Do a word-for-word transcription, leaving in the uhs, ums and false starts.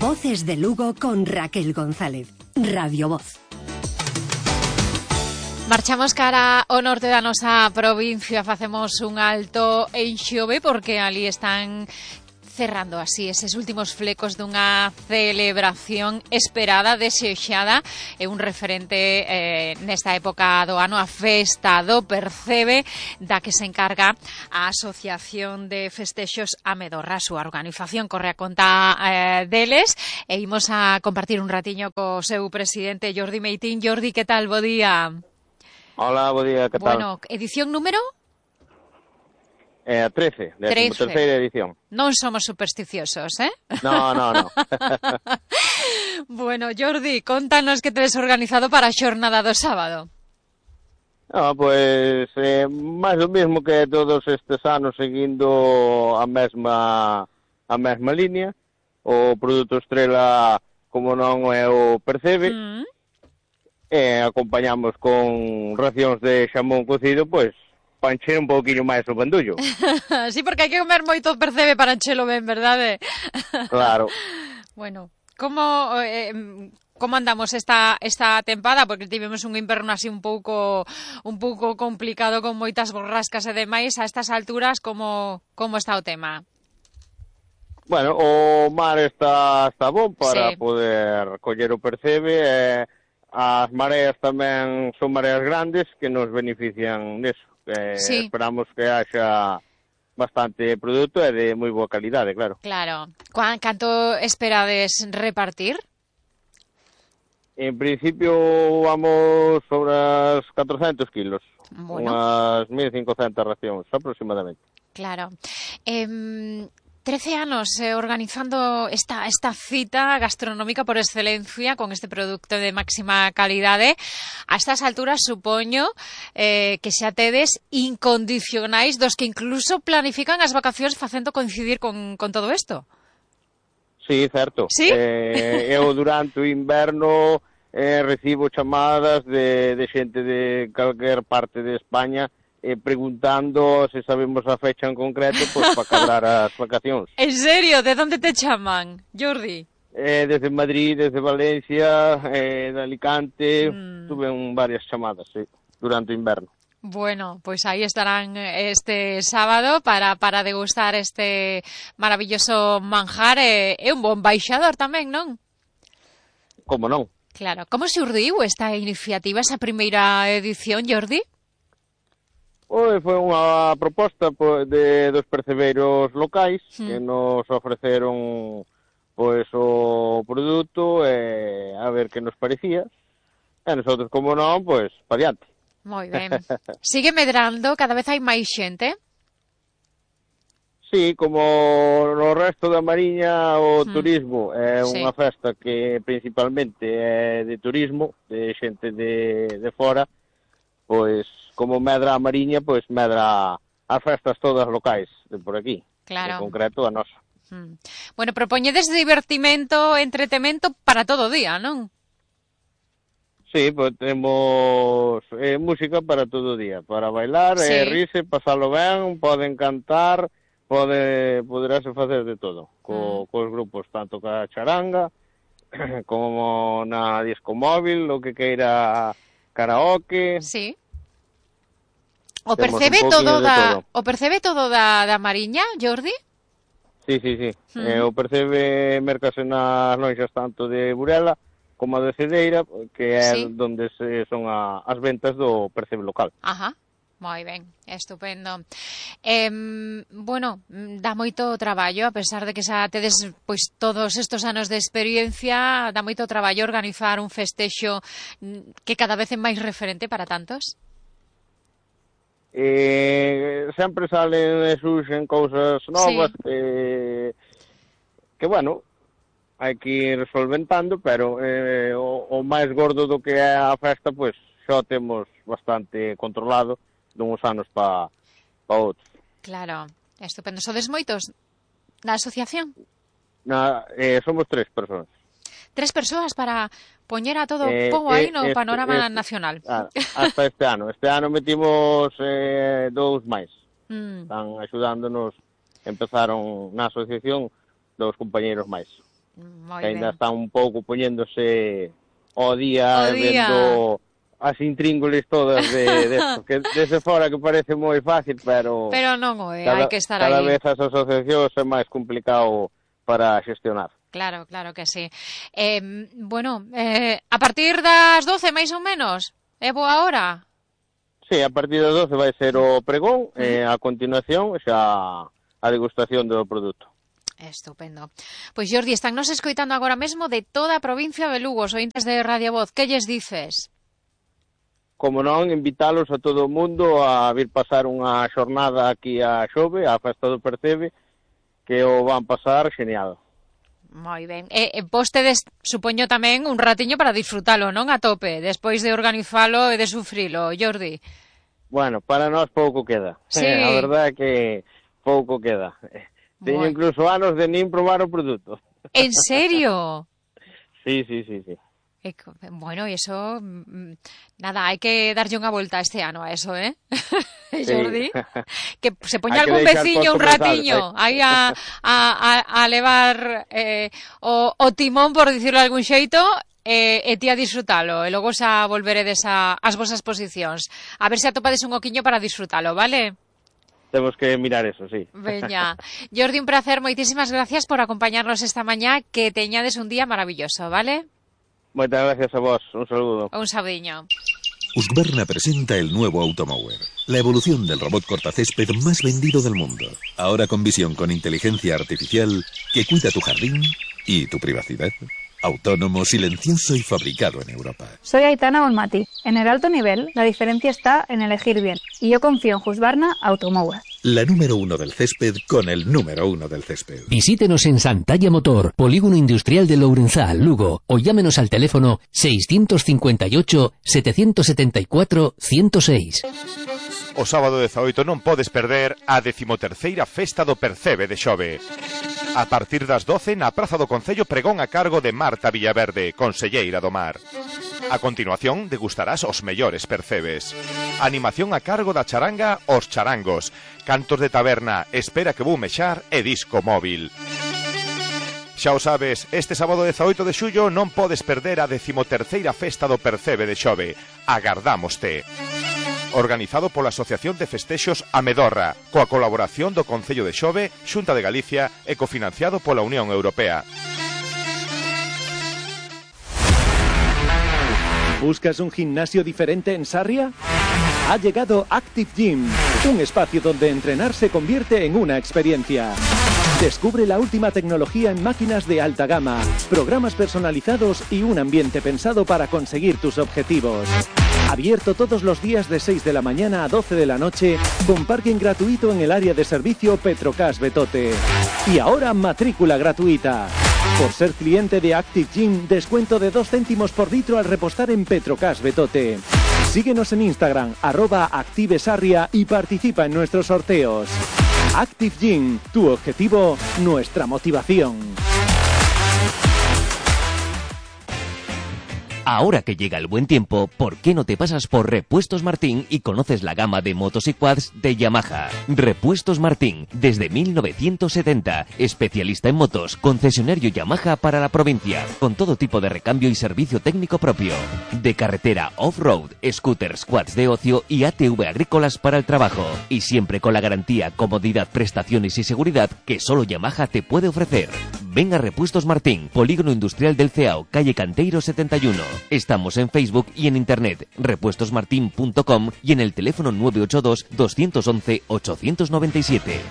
Voces de Lugo con Raquel González. Radio Voz. Marchamos cara ao norte da nosa provincia, facemos un alto en Xove porque ali están cerrando así eses últimos flecos dunha celebración esperada, desexada, e un referente eh, nesta época do ano, a festa do Percebe, da que se encarga a Asociación de Festexos Amedorra. A súa organización corre a conta eh, deles, e imos a compartir un ratiño co seu presidente, Jordi Meitín. Jordi, que tal? Bo día. Hola, bo día, que tal? Bueno, edición número? Eh, trece, décimo terceira edición. Non somos supersticiosos, eh? No, no, no. Bueno, Jordi, contanos que tedes organizado para a xornada do sábado. No, pois, eh, máis o mesmo que todos estes anos, seguindo a mesma a mesma línea. O produto estrela, como non, é o Percebe. Mm. E acompañamos con racións de xamón cocido, pois, para encher un pouquinho máis o bandullo. Sí, porque hai que comer moito Percebe para enchelo ben, verdade? Claro. Bueno, como eh, como andamos esta esta tempada, porque tivemos un inverno así un pouco un pouco complicado con moitas borrascas e demais. A estas alturas, como como está o tema? Bueno, o mar está está bon para sí. poder coller o Percebe, e as mareas tamén son mareas grandes que nos benefician neso. Eh, sí. Esperamos que haxa bastante produto e de moi boa calidade, claro. Claro. Canto esperades repartir? En principio vamos sobre as catrocentos kilos. Bueno. Unhas mil e cincocentas racións aproximadamente. Claro. Eh... trece anos eh, organizando esta, esta cita gastronómica por excelencia con este producto de máxima calidade. A estas alturas supoño eh, que xa tedes incondicionais dos que incluso planifican as vacacións facendo coincidir con, con todo isto. Sí, certo. ¿Sí? Eh, eu durante o inverno eh, recibo chamadas de, de xente de calquer parte de España Eh, preguntando se sabemos a fecha en concreto, pois para cadrar as vacacións. En serio? De onde te chaman, Jordi? Eh, desde Madrid, desde Valencia, eh, de Alicante, mm. tuve un, varias chamadas, sí, durante o inverno. Bueno, pois aí estarán este sábado para, para degustar este maravilloso manjar e, e un bon baixador tamén, non? Como non? Claro. Como xurdiu esta iniciativa, esa primeira edición, Jordi? Oi, foi unha proposta de dos percebeiros locais mm. que nos ofreceron pois o produto e a ver que nos parecía. E nosotros, como non, pois, pa diante. Moi ben. Sigue medrando? Cada vez hai máis xente? Sí, como no resto da Mariña, o mm. turismo é sí. unha festa que principalmente é de turismo, de xente de, de fora, pois como medra a Mariña, pois medra as festas todas locais de por aquí, claro. En concreto a nosa. Mm. Bueno, propoñedes divertimento, entretemento para todo o día, non? Sí, pois temos eh, música para todo o día, para bailar, sí. eh, rirse, pasalo ben, poden cantar, pode poderase facer de todo, co, mm. cos grupos, tanto ca charanga, como na disco móvil, o que queira karaoke. Sí. O percebe todo da todo. O percebe todo da, da Mariña, Jordi? Sí, sí, sí. Mm. Eh, o percebe mercase nas lonxas tanto de Burela como de Cedeira, que é sí. donde se son a, as ventas do percebe local. Ajá. Moi ben, estupendo. Eh, bueno, dá moito traballo, a pesar de que xa tedes pois todos estes anos de experiencia, dá moito traballo organizar un festexo que cada vez é máis referente para tantos? Eh, sempre salen e surxen cousas novas sí. que, que, bueno, hai que ir solventando, pero eh, o, o máis gordo do que é a festa, pois, xa temos bastante controlado duns anos pa, pa outros. Claro, estupendo. Sodes moitos na asociación? Na, eh, somos tres persoas. Tres persoas para poñer a todo eh, pobo aí no este, panorama este, nacional. Ah, hasta este ano. Este ano metimos eh, dous máis. Mm. Están axudándonos, empezaron na asociación dous compañeiros máis. Moi que ainda ben. Está un pouco poñéndose ao día, o día. vendo as intríngules todas de, de esto, que desde fora que parece moi fácil, pero pero non o é, cada, hai que estar cada aí. vez as asociacións é máis complicado para xestionar. Claro, claro que sí. Eh, bueno, eh, a partir das doce, máis ou menos, é boa hora? Sí, a partir das doce vai ser o pregón, uh-huh. e a continuación xa a degustación do produto. Estupendo. Pois, Jordi, están nos escoitando agora mesmo de toda a provincia de Lugo, os ointes de Radio Voz. Que lles dices? Como non, invitalos a todo o mundo a vir pasar unha xornada aquí a Xove, a Festa do Percebe, que o van pasar genial. Moi ben. E, e vostedes, supoño tamén, un ratiño para disfrutalo, non? A tope, despois de organizalo e de sufrilo, Jordi. Bueno, para nós pouco queda. Sí. Eh, a verdade é que pouco queda. Teño bueno. incluso anos de nin probar o produto. En serio? Sí, sí, sí, sí. Bueno, y eso, nada, hai que darlle unha volta este ano a eso, ¿eh? Sí. Jordi, que se poña algún veciño un ratiño aí a, a, a, a levar eh, o, o timón, por dicirlo de algún xeito, e, e ti a disfrutalo, e logo xa volveredes a, as vosas posicións. A ver se atopades un oquiño para disfrutalo, vale? Temos que mirar eso, sí. Veña. Jordi, un placer, moitísimas gracias por acompañarnos esta mañá, que teñades un día maravilloso, vale? Muchas gracias a vos, un saludo. Un saludiño. Husqvarna presenta el nuevo Automower, la evolución del robot cortacésped más vendido del mundo. Ahora con visión con inteligencia artificial que cuida tu jardín y tu privacidad. Autónomo, silencioso y fabricado en Europa. Soy Aitana Olmati. En el alto nivel, la diferencia está en elegir bien. Y yo confío en Husqvarna Automower. La número uno del césped con el número uno del césped. Visítenos en Santalla Motor, Polígono Industrial de Lourenzá, Lugo, o llámenos al teléfono seiscientos cincuenta y ocho, setecientos setenta y cuatro, ciento seis. O sábado dezaoito non podes perder a decimoterceira Festa do Percebe de Xove. A partir das doce na Praza do Concello, pregón a cargo de Marta Villaverde, conselleira do Mar. A continuación degustarás os mellores percebes. Animación a cargo da charanga Os Charangos, cantos de taberna, espera que vou mexar e disco móvil. Xa o sabes, este sábado dezaoito de xullo non podes perder a decimoterceira Festa do Percebe de Xove. Agardámoste. Organizado pola Asociación de Festexos Amedorra, coa colaboración do Concello de Xove, Xunta de Galicia e cofinanciado pola Unión Europea. ¿Buscas un gimnasio diferente en Sarria? Ha llegado Active Gym, un espacio donde entrenar se convierte en una experiencia. Descubre la última tecnología en máquinas de alta gama, programas personalizados y un ambiente pensado para conseguir tus objetivos. Abierto todos los días de seis de la mañana a doce de la noche, con parking gratuito en el área de servicio Petrocas Betote. Y ahora matrícula gratuita. Por ser cliente de Active Gym, descuento de dos céntimos por litro al repostar en Petrocas Betote. Síguenos en Instagram, arroba ActiveSarria, y participa en nuestros sorteos. Active Gym, tu objetivo, nuestra motivación. Ahora que llega el buen tiempo, ¿por qué no te pasas por Repuestos Martín y conoces la gama de motos y quads de Yamaha? Repuestos Martín, desde mil novecientos setenta, especialista en motos, concesionario Yamaha para la provincia, con todo tipo de recambio y servicio técnico propio. De carretera off-road, scooters, quads de ocio y A T V agrícolas para el trabajo. Y siempre con la garantía, comodidad, prestaciones y seguridad que solo Yamaha te puede ofrecer. Ven a Repuestos Martín, Polígono Industrial del Ceao, calle Canteiro setenta y uno. Estamos en Facebook y en internet, repuestos martin punto com, y en el teléfono nueve ocho dos, dos uno uno, ocho nueve siete.